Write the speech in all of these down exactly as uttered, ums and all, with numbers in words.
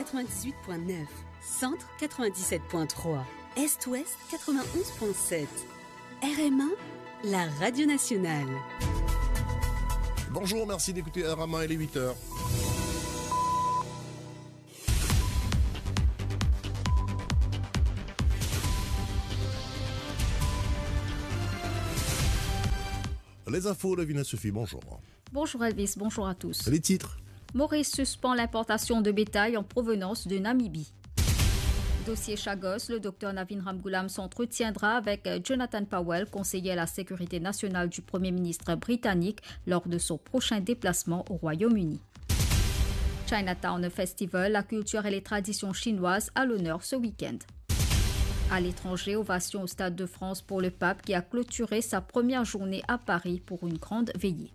Quatre-vingt-dix-huit point neuf, Centre quatre-vingt-dix-sept point trois, Est-Ouest quatre-vingt-onze point sept. R M A, la radio nationale. Bonjour, merci d'écouter R M A, il est huit heures. Les infos, Davina Sophie, bonjour. Bonjour Elvis, bonjour à tous. Les titres. Maurice suspend l'importation de bétail en provenance de Namibie. Dossier Chagos, le docteur Navin Ramgoolam s'entretiendra avec, euh, Jonathan Powell, conseiller à la sécurité nationale du Premier ministre britannique, lors de son prochain déplacement au Royaume-Uni. Chinatown Festival, la culture et les traditions chinoises à l'honneur ce week-end. À l'étranger, ovation au Stade de France pour le pape qui a clôturé sa première journée à Paris pour une grande veillée.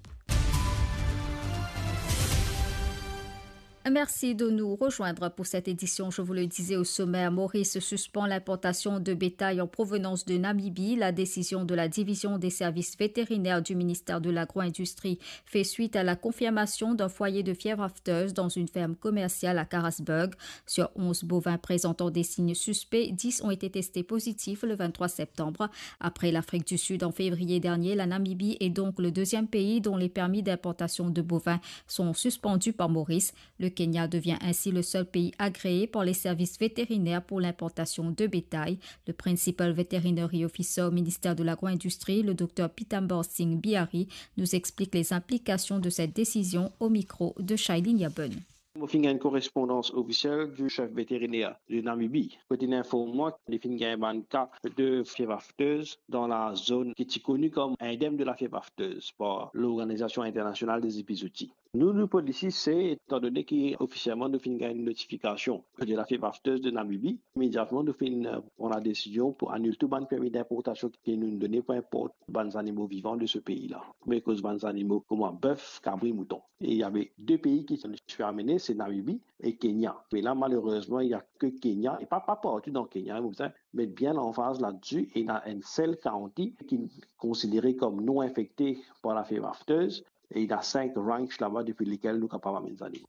Merci de nous rejoindre pour cette édition. Je vous le disais au sommaire, Maurice suspend l'importation de bétail en provenance de Namibie. La décision de la division des services vétérinaires du ministère de l'Agro-industrie fait suite à la confirmation d'un foyer de fièvre aphteuse dans une ferme commerciale à Karasburg. Sur onze bovins présentant des signes suspects, dix ont été testés positifs le vingt-trois septembre. Après l'Afrique du Sud en février dernier, la Namibie est donc le deuxième pays dont les permis d'importation de bovins sont suspendus par Maurice. Le Kenya devient ainsi le seul pays agréé par les services vétérinaires pour l'importation de bétail. Le Principal Veterinary Officer au ministère de l'Agro-industrie, le docteur Pitambor Singh Bihari, nous explique les implications de cette décision au micro de Shailin Yabon. Mo finn gagn korespondans ofisiel di sef veteriner de Namibi, kot inn inform mwa ki li finn gagn bann ka de fièvre aphteuse dan la zone ki ti koni kom endem de la fièvre aphteuse par l'Organisation Internationale des Épizooties. Nou, nou polisi se, etandone ki ofisielman nou finn gagn notifikasion de la fièvre aphteuse de Namibi, imediatman nou finn, euh, pran la desizion pou anil tou bann permi d'importation ki nou done pou inport bann zanimo vivan de se pei la. Premie koz bann zanimo kouma bef, kabri, mouton. E il y avait deux pays qui sont, je suis amené, c'est Namibie et Kenya. Mais là, malheureusement, il y a que Kenya, et pas, pas partout dans Kenya, hein, vous savez, mais bien en phase là-dessus, et il y a un seul county qui est considéré comme non infecté par la fièvre aphteuse, et il y a cinq ranchs là-bas depuis lesquels nous capables amener des animaux.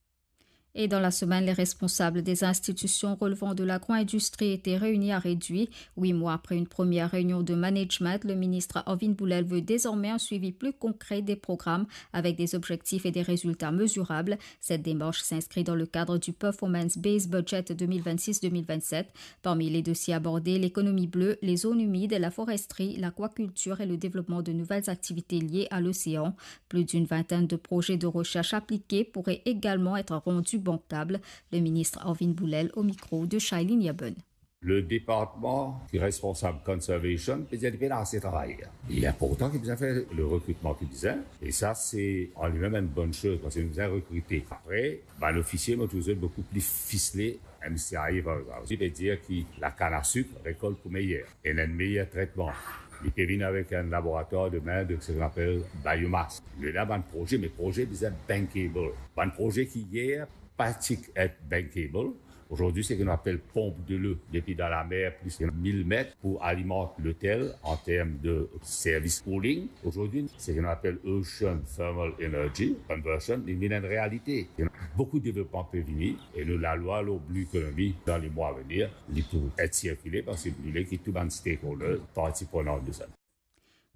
Et dans la semaine, les responsables des institutions relevant de l'agro-industrie étaient réunis à Réduit. Huit mois après une première réunion de management, le ministre Arvin Boulel veut désormais un suivi plus concret des programmes avec des objectifs et des résultats mesurables. Cette démarche s'inscrit dans le cadre du Performance Based Budget deux mille vingt-six deux mille vingt-sept. Parmi les dossiers abordés, l'économie bleue, les zones humides, la foresterie, l'aquaculture et le développement de nouvelles activités liées à l'océan. Plus d'une vingtaine de projets de recherche appliqués pourraient également être rendus bancables. Le ministre Arvin Boulel au micro de Shailin Yabon. Le departman ki responsab conservation, pe dir li pena ase travay. Li inportan ki bizin fer le rekritman ki bizin, e sa se an limem enn bonn soz, parski nou bizin rekrite. Apre, bann ofisie, mo trouv zot boukou pli fisle, M C I A, par exanp. Li pe dir ki lakann a sik rekolt pou meyer, ena enn meyer tretman. Li pe vinn avek enn laboratwar de mind, seki nou apel biomass. Nou ena bann proze, me proze bizin bankable. Bann proze ki yer pa ti et bankable, ozordi, seki nou apel pomp de lo depi dan lamer plis ki mil met pou alimant lotel an term de servis cooling. Ozordi, seki nou apel ocean thermal energy conversion, li vinn enn realite. Ena boukou devlopman pe vini e nou lalwa lor blue economy dan lemwa avenir, li pou et sirkile parski nou le ki tou bann stakeholders, parti prenan de sa.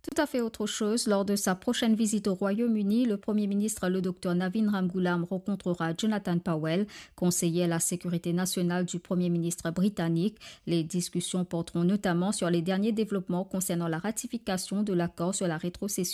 Tout à fait autre chose, lors de sa prochaine visite au Royaume-Uni, le Premier ministre, le docteur Navin Ramgoolam, rencontrera Jonathan Powell, conseiller à la sécurité nationale du Premier ministre britannique. Les discussions porteront notamment sur les derniers développements concernant la ratification de l'accord sur la rétrocession